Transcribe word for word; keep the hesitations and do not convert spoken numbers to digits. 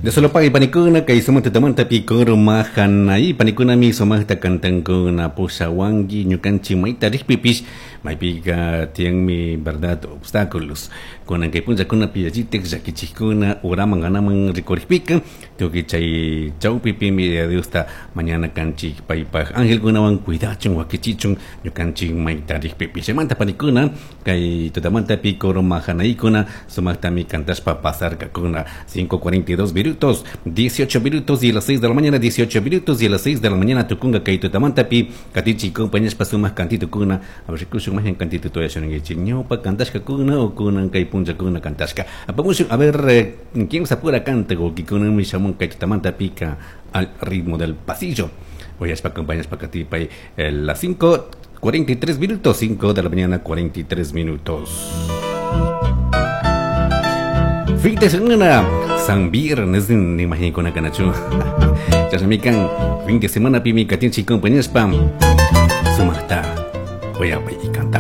De solo pagay panikuna kay sumakta tamantapi coro mahanay panikunami sumakta kantankuna pushawanki ñukanchik mayta rikpipish maypika tiyanmi, verdad, obstáculos kunan kay punllakunapi yallitik llakichikkuna uraman anaman rikurikpika tukuy chay chawpipimi Diosta mañana kanchik paypaj angelkunawan cuidachun wakichichun ñukanchik mayta rikpipish. Chaymanta panikuna kay tutamantapi coro mahanaykuna sumaktami kantashpa pasarkakuna. cinco cuarenta y dos minutos, dieciocho minutos y a las seis de la mañana, dieciocho minutos y a las seis de la mañana tukunga kay tutamantapi katichi compañaspa sumak kantitukuna. A ver, rikushun majen kantito toya shunankichik ñawpa kantashkakuna o kunan kay punllakuna kantashka apamushun. A ver, eh, quién se apura canta wakikunami shamun kay tutamantapika al ritmo del pasillo. Voy a acompañar katipay eh, las cinco cuarenta y tres minutos, cinco de la mañana cuarenta y tres minutos. Fin de semana, San Viernes, ni imagino kanachu. Chasamikan, fin de semana pimi katinchi compañeros pam. Sumata, voy a y cantapay.